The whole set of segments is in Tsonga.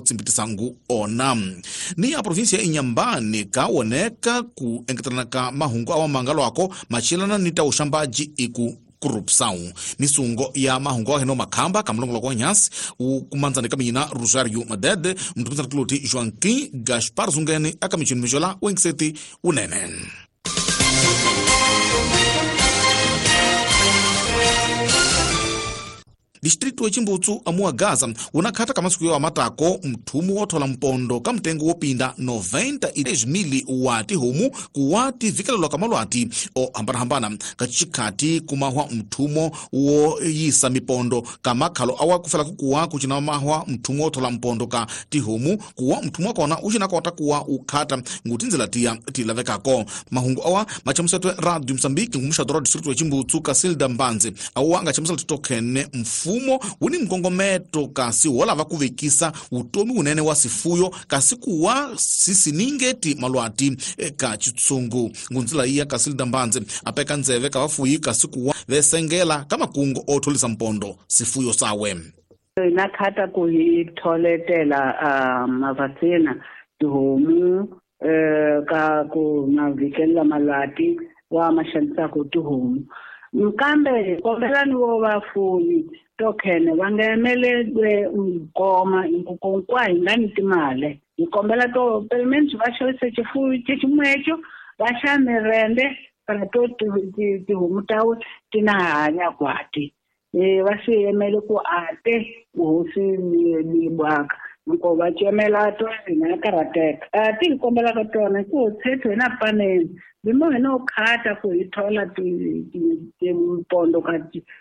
tsimbitisa ngu ona. Ni ya provinsia ya Inhambane ka woneka ku engetelana ka mahungu awa mangalwako machelana ni ta uxambaji iku corrupção. Misungo ya mahungu awa heno makhamba kamulongoloko wa nyasi ukumanzana ka mina Rosario Madede mtukutsana tuloti Joaquim Gaspar Zungene akamichini mijola wengiseti unene. Distrito wa Chimbutsu amua Gaza unakhata kamasiku ya matako mthumu wothola mpondo ka mtengo wopinda 93,000 wati homu kuwati vikelelwa kamalwati o hambanahambana kachikhati kumahwa mthumo woyisa mipondo kamakhalo awa kufela kukuwa kuchina mahwa mthumo wothola mpondo ka tihomu kuwa mthumo wakona ucinakota kuwa ukhata ngutinzela tiya tilavekako. Mahungu awa machamusetwe Radio Mozambique ngumuxadoro wa distrito wa Chimbutsu Casilda Mbanze awa angachamusela titokhene mfumo uni mkongometo kasi wolava kuvekisa utomi unene wa sifuyo kasi kuwa sisiningeti malwati ka chitsungu. Ngunzila iya Casilda Mbanze apeka nzeve ka vafuyi kasi kuwa vesengela ka makungo otholisa mpondo sifuyo sawe. Nakhata ku hi tholetela mavatsena tihomu ka ku mavikela malwati wa maxanisako tihomu. Mkambe kombelani wo vafuyi tokhene va nga emelelwe nkoma nkonkwa hi nga ni timali hi kombela to pelo menos va xavisa xifuyo xeximwecho va xa mirende para to tihomu tawe ti na hanya kwati va swi yemele ku ate hosi ni bwaka nko va cemela to hina karhateka ti hi kombelaka tona ku tshetho hina paneni bimo hina u khata ku hi thola timpondo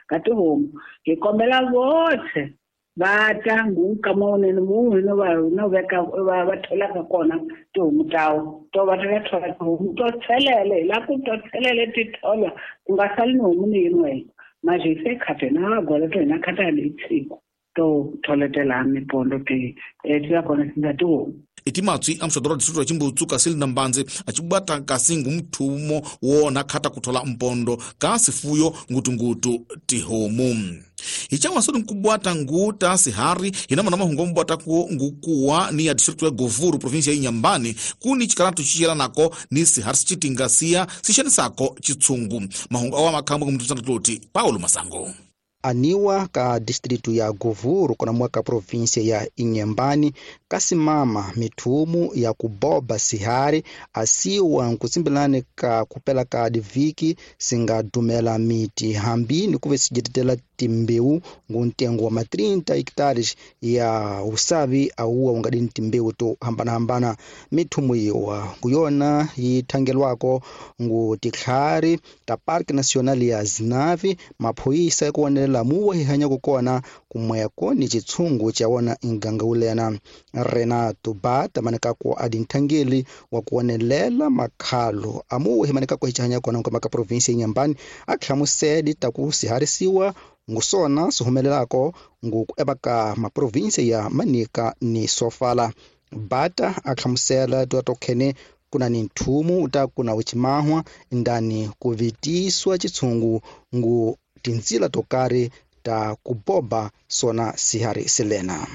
ka tihomu hi kombela votlhe va ta nkama wunene mu hina va veka va tholaka kona tihomu tawo to va ta thola tihomu to tshelele hi la ku to tshelele ti tholwa ku nga sali ni homu ni yin'we manje se khata hina va gola to hina khata leyi tshiku to tholetela mipondo ti ti kona singa tihomu. Itimatswi amuxadoro wa distrito wa Chimbutsu Casilda Mbanze acibwata kasi ngumthumo wona khata kuthola mpondo ka sifuyo ngutungutu tihomu. Hichawa soni nkubwata nguta sihari hinamana mahungu mbwata ku ngukuwa ni ya distrito ya Govuru provinsia ya Inhambane kuni chikaratu chichela nako ni sihari sichitingasia sixanisako chitsungu. Mahungu awa makhamba kumtutsana tuloti Paulo Masango. Aniwa ka distritu ya Govuru kona mwaka provinsia ya Inhambane kasimama mithumu ya kuboba sihari asiwa nkutsimbelani ka kupela ka diviki singadumela miti hambi ni kuve sijetetela timbewu nguntengo wa ma 30 hectares ya usavi auwa ungadini timbewu to hambanahambana. Mithumu iwa nguyona yithangelwako ngu titlhari ta Parque Nacional ya Zinave maphoyisa ekuwonelela muwa hihanyako kona kumweko ni chitsungu cha wona inganga ulena. Renato Bata manekako adi nthangeli wa kuwonelela makhalo amuwa himanekako hichihanya kona nkomaka provinsia ya Inhambane akhlamusedi taku siharisiwa ngusona sihumelelako ngukuevaka maprovinsia ya Manica ni Sofala. Bata akhlamusela tokhene kuna ni nthumu uta kuna uchimahwa ndani kuvitiswa chitsungu ngu tinzila tokari ta kuboba sona sihari silena.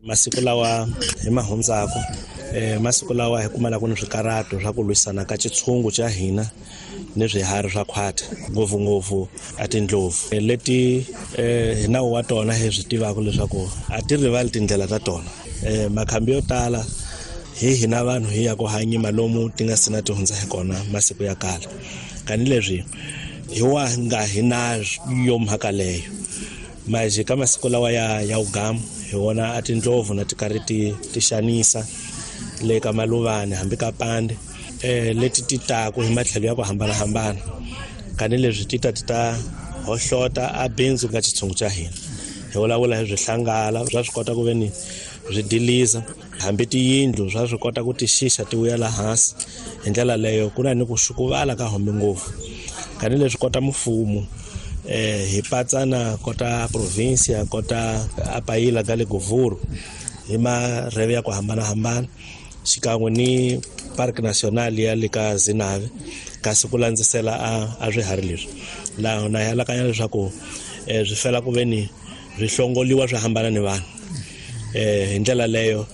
Masiku lawa hi mahundzako masiku lawa hi kumalaka ni swikarato swa ku lwisana ka chitshungu cha hina ni swiharhi swa khwati ngopfungopfu a tindlovu leti hi nawu wa tona hi swi tivaka leswaku a ti rivali tindlela ta tona. Makhambi yo tala hi hina vanhu hi ya ku hanyima lomu ti nga sina ti hundza hi kona masiku ya kala kanileswi hi wa nga hi na yo mhaka leyo manje ka masiku lawa ya ugamu hi wona a tindlovu na ti karhi ti xanisa le ka maluvani hambi ka pande leti ti taku hi matlhelo ya ku hambanahambana kanileswi ti ta hohlota a bindzu ka xitshungu xa hina. Hi vulavula hi swihlangala swa swi kota ku ve ni swi diliza hambi tiyindlu swa swi kota ku ti xixa ti vuyela hansi hi ndlela leyo ku na ni ku xukuvala ka hombe ngopfu kanileswi kota mfumo hi patsana kota provinsia kota apayila ka le Govuru hi marheve ya ku hambanahambana xikan'we ni Parque Nacional ya le ka Zinave kasi ku landzisela a swiharhi leswi laha na alakanya leswaku swi fela ku ve ni swi hlongoliwa swi hambana ni vanhu hi ndlela leyo